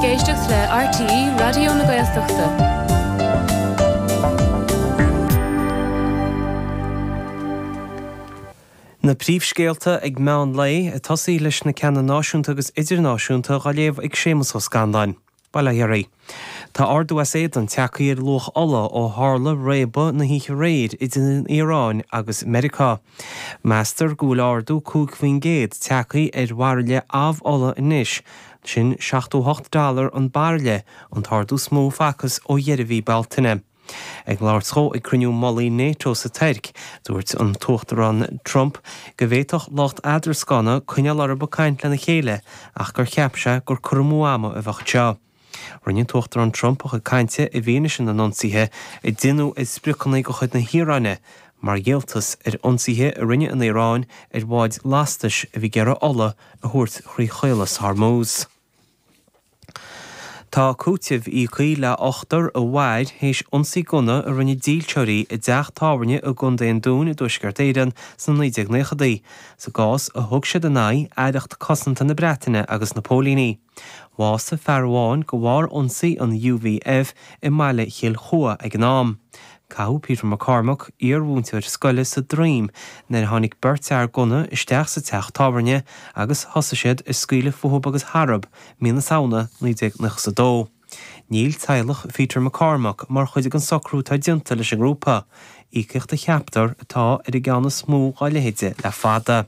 éisteacht le RTÉ Raidió na Gaeltachta. Na príomhscéalta ag meán lae, ag tosaí leis na ceanna náisiúnta agus idirnáisiúnta dhá léamh ag Séamus Ó Scanláin. Bail ó Dhia oraibh. Tá ardú as éadan tagtha ar luach ola ó tharla réabadh na hoíche aréir idir an Iaráin agus Meiriceá. Meastar go bhfuil ardú 5% tagtha ar bhairille amh-ola anois, sin 78 dollar an bairille, an t-ardú is mó a facthas ó dheireadh mhí Bealtaine. Ag labhairt dhó ag cruinniú mullaigh NATO sa Tuirc, dúirt an tUachtarán Trump go bhféadfadh lucht eadrascána coinneáil orthu ag caint lena chéile ach gur cheap sé gur cur amú ama a bheadh anseo. Rinne an tUachtarán Trump a chuid cainte i bhfianaise na n-ionsaithe a déanadh ar spriocanna de chuid na hIaráine mar dhíoltas ar ionsaithe a rinne an Iaráin ar bháid lastais a bhí ag iarraidh ola a thabhairt thrí Chaolas Hormuz. Tá cúiteamh íoctha le ochtar a mhair théis ionsaí gunna a rinne dílseoirí i dteach tábhairne i gContae an Dúin i dTuaisceart Éireann sna 1990idí, sa gcás a thug siad in aghaidh Aireacht Cosanta na Breataine agus na póilíní. Bhásaigh fear amháin de bharr ionsaí an UVF i mbaile Chill Chua ag an am. Caitheadh Peter McCormack, iar-mhúinteoir scoile, sa droim nuair a tháinig beirt fhear gunna isteach sa teach tábhairne agus thosaigh siad ag scaoileadh fúthu agus tharthu mí na Samhna 1992. Níl teaghlach Pheter McCormack mar chuid den socrú atá déanta leis an ngrúpa, íocaíocht a cheaptar atá ar an gceann is mó dá leithéide le fada.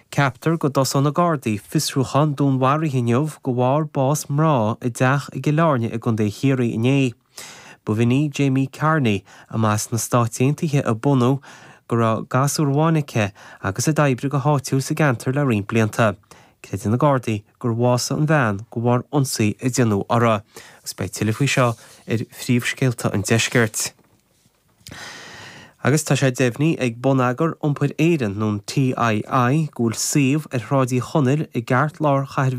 Ceaptar go dtosóidh na Gardaí fiosrúchán dúnmharaithe inniu de bharr bás mná i dteach i gCill Airne i gContae Chiarraí inné. Ba í Jamie Carney, a mba sna Stáit Aontaithe a bunadh, go raibh gasúr amháin aici agus a d'oibrigh go háitiúil sa gceantar le roinnt blianta. Creideann na Gardaí gur bhásaigh an bhean de bharr ionsaí a déanadh uirthi. Agus beidh tuilleadh faoi seo ar phríomhscéalta an deiscirt. Agus tá sé deimhnithe ag Bonneagar Iompair Éireann, nó an TII, go bhfuil suíomh ar Shráid Uí Chonaill i gceartlár chathair.